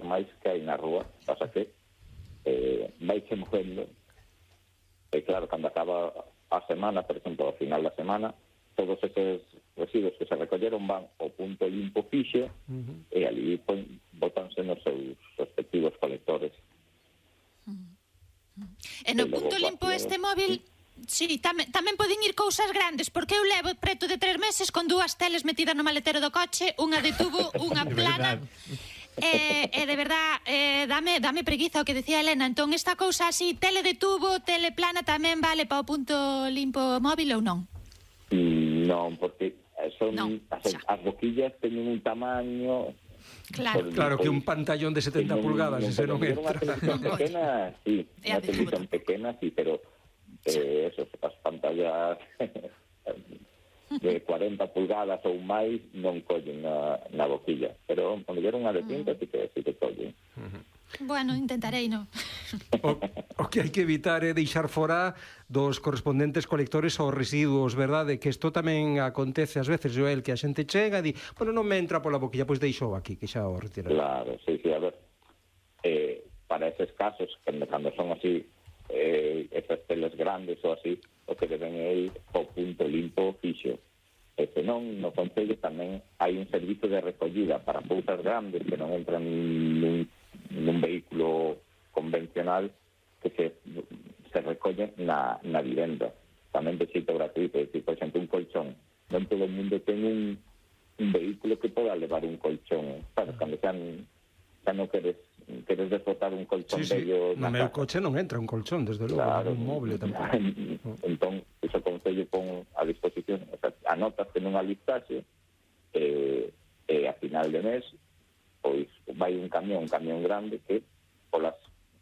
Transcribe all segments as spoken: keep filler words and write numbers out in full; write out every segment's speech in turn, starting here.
normais que hai na rúa, pasa que eh, vai se movendo, e claro, cando acaba a semana, por exemplo, ao final da semana, todos esos residuos que se recolleron van ao punto limpo fixo, uh-huh. e ali pues, botanse nos seus respectivos colectores. Uh-huh. E no punto limpo este móvil, sí, tamén, tamén poden ir cousas grandes, porque eu levo preto de tres meses con dúas teles metidas no maletero do coche, unha de tubo, unha plana. E, e de verdad, eh, dame, dame preguiza o que decía Elena. Entón, esta cousa así, tele de tubo, tele plana, tamén vale para o punto limpo móvil ou non? Mm, non, porque son non, as, as boquillas teñen un tamaño... Claro, claro que un pantallón de setenta pulgadas, ese non entra. Unha televisión pequena, sí, unha televisión pequena, sí, pero eh, eso, as pantallas... de cuarenta pulgadas ou máis non collen na, na boquilla, pero cando lle unha de tinta sí que, sí que collen. Uh-huh. Bueno, intentarei, non? O, o que hai que evitar é deixar fora dos correspondentes colectores aos residuos, verdade? Que isto tamén acontece ás veces, Joel, que a xente chega e di, bueno, non me entra pola boquilla, pois deixou aquí, que xa o retiraré. Claro, sí, sí, a ver, eh, para eses casos, cando, cando son así, eh, esas teles grandes ou así, o que deben é ir ao punto limpo fixo. E senón, no Concello tamén hai un servizo de recollida para cousas grandes que non entran nun, nun vehículo convencional, que se, se recollen na, na vivenda. Tamén de xeito gratuito. É dicir, por exemplo, un colchón. Non todo o mundo ten un, un vehículo que poda levar un colchón. Claro, cando xa, xa non queres queres desbotar un colchón sí, sí. bello no meu coche non entra un colchón, desde logo, claro, un móvil tampouco. Entón, iso Concello pon a disposición, o sea, anotas que non alistaxe, e, e a final de mes pois vai un camión, un camión grande que polas,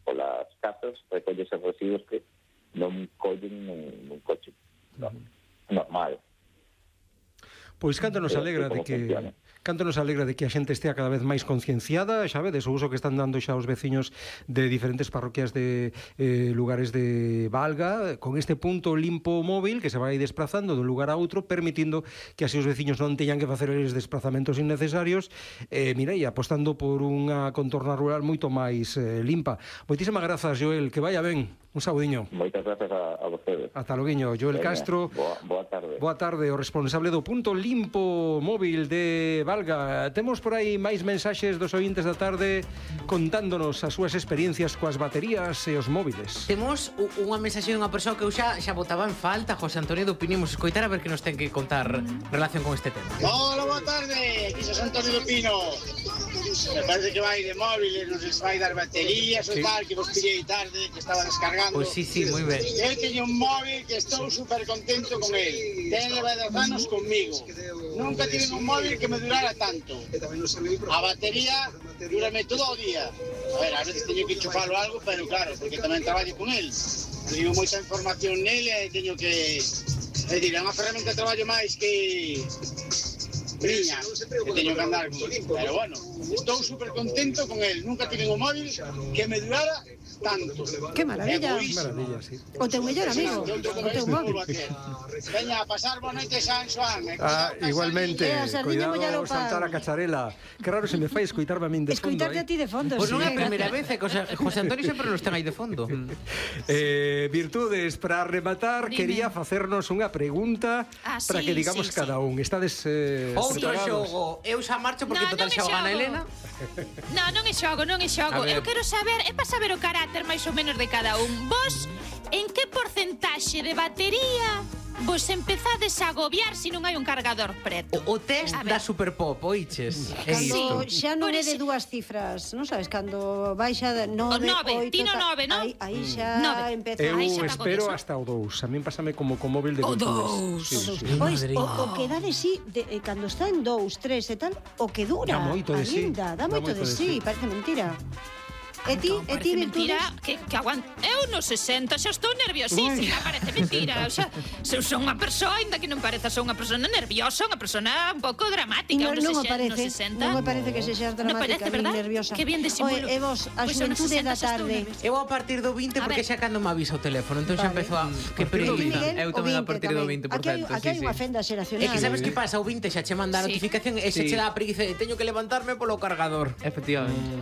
polas casas recolle esos residuos que non collen nun, nun coche no, normal. Pois canto nos alegra de que funciona. Canto nos alegra de que a xente estea cada vez máis concienciada, xa vedes, o uso que están dando xa os veciños de diferentes parroquias de eh, lugares de Valga, con este punto limpo móvil que se vai desplazando dun lugar a outro, permitindo que así os veciños non teñan que facer eles desplazamentos innecesarios, eh, mira, e apostando por unha contorna rural moito máis eh, limpa. Moitísimas grazas, Joel, que vaya ben. Un saudiño. Moitas grazas a, a vostedes. Ata loguiño. Joel Venga, Castro. Boa, boa tarde. Boa tarde, o responsable do punto limpo móvil de Valga. Temos por aí máis mensaxes dos ointes da tarde contándonos as súas experiencias coas baterías e os móviles. Temos unha mensaxe dunha persoa que eu xa, xa botaba en falta, José Antonio do Pinimos, escoitar a ver que nos ten que contar relación con este tema. Hola, boa tarde, aquí José Antonio do Pino. Me parece que vai de móviles, nos vai dar baterías ou sí. Tal, que vos pillei tarde, que estaba descargando. Pois pues sí, sí, moi ben. Eu teño un móvil que estou super contento con el. Ten leva dez anos conmigo. Nunca tive un móvil que me durara tanto. A batería durame todo o día. A ver, a veces teño que enchufalo algo, pero claro, porque tamén traballo con el. Teño moita información nele e teño que... É dicir, é unha ferramenta de traballo máis que... Miña, que teño que andar con el. Pero bueno, estou super contento con el. Nunca tive un móvil que me durara tanto. Que maravilla. Que maravilla, sí. O teu mellor amigo, o teu móvil. Veña, a pasar boa noite, San Xoan. Ah, igualmente. Cuidado, saltar a cacharela. Que raro se me fai escoitarme a min de fondo. Escoitarte a ti de fondo, Pois sí. non é a primeira vez, que José Antonio sempre nos ten aí de fondo. eh, Virtudes, para rematar, Dime. quería facernos unha pregunta ah, para sí, que digamos sí, cada sí. un. Estades eh, Outro preparados? xogo. Eu xa marcho porque no, total xa o gana Elena. Non, non é xogo, non é xogo. Eu quero saber, é para saber o carácter máis ou menos de cada un. Vos, en que porcentaxe de batería vos empezades a agobiar se non hai un cargador preto? O, o test da Superpop, oiches? Cando xa non é de dúas cifras, non sabes, cando vai xa de nove, oito... Tino nove, non? Aí, aí xa empeza... Eu aí xa espero hasta o dous. A min pásame como con móvil de o Virtudes. dous. Sí, sí, sí. Pois, o, o que dá de sí, de, eh, cando está en dous, tres e tal, o que dura. Dá moito de sí. Dá, dá moito de sí, parece mentira. E ti, Entón, e ti mentira Virtudes? que, que aguant... Eu no sesenta xa estou nerviosísima, parece mentira. O sea, se eu son unha persoa, ainda que non pareza, son unha persona nerviosa, unha persona un pouco dramática. No, non me parece, no sesenta. non me parece que sexas dramática, no parece, nin nerviosa. Que bien disimulo. Oe, e vos, a pues xuventude da tarde. Eu a partir do vinte, porque xa cando me avisa o teléfono, entón xa empezou a... Que periodista. Eu tamén a partir do vinte por cento. Aquí hai unha fenda xeracional. É que sabes que pasa, o vinte xa che manda a notificación e xa che dá a preguiza de teño que levantarme polo cargador. Efectivamente.